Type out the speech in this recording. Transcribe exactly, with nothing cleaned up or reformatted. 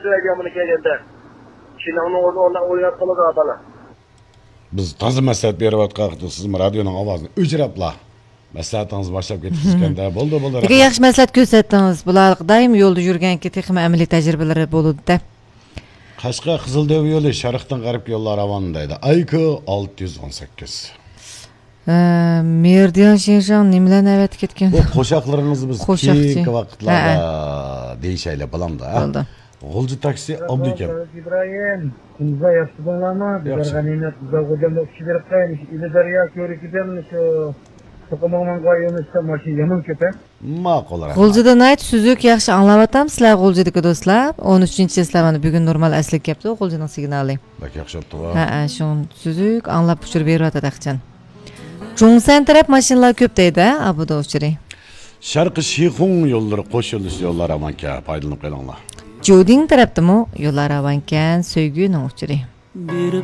سىلەرگە يامىنى كەلگەندە، شىناڭنىڭ ئورنى ئورناپ ئويناپ قالىدۇ، بالىلار. بىز تازا مەسلىھەت بېرىۋاتقان ۋاقىتتا سىزمۇ رادىيونىڭ ئاۋازىنى ئۆچۈرەپلا، مەسلىھەتىڭىزنى باشلاپ كېتىپسىزكەندە. بولدى، بولدى، لېكىن رەھمەت. ياخشى مەسلىھەت كۆرسەتتىڭىز. بۇلار دائىم يولدا يۈرگەنكى تېخىمۇ ئەمەلىي تەجرىبىلىرى بولىدۇ-دە. قەشقەر قىزىلدۆۋە يولى شەرقتىن غەربكە يوللار راۋان دەيدۇ. ئايكو ئالتە يۈز ئون سەككىز. ھە، مېرىدىيان شىنشاڭ نېمىلەرنى ئەۋەتىپ كەتكەن؟ بۇ قوشاقلىرىڭىزنى بىز قوشاقچى. كېيىنكى ۋاقىتلاردا ھە، ھە. دېيىشەيلى، بولامدۇ، ھە؟ بولدى. غۇلجا تاكسى ئابلىكەم. ئىبراھىم، كۈندۈزلەر ياخشى تۇردۇڭلارمۇ؟ ياخشى. بىزلەرگە نېمە، بىزلەر غۇلجامدا ئۇچۇپ بېرىپ قايمىش، ئىلى دەريا كۆۋرۈكىدىن شۇ توقۇماڭمانغا يۆنىلىشتە ماشىنا يامان كۆپ، ھە؟ ماقۇل، رەھمەت. غۇلجىدا ناھايىتى سۈزۈك، ياخشى ئاڭلاۋاتامسىلەر غۇلجىدىكى دوستلار؟ ئون ئۈچىنچى چىسلا مانا بۈگۈن نورمال ئەسلىگە كەپتۇ غۇلجىنىڭ سىگنالى. بەك ياخشى بوپتۇغۇ. ھەئە، شۇڭا سۈزۈك ئاڭلاپ ئۇچۇر بېرىۋاتىدۇ ئەخچان. جۇڭسەن تەرەپ ماشىنىلار كۆپ دەيدۇ، ئابۇدا ئۇچۇرى. شەرقىي شىخۇڭ يوللىرى قوش يۆنىلىش يوللار ئامان ئىكەن، پايدىلىنىپ قېلىڭلار. جۇدىڭ تەرەپتىمۇ يوللار راۋانكەن، سۆيگۈنىڭ ئۇچۇرى. بېرىپ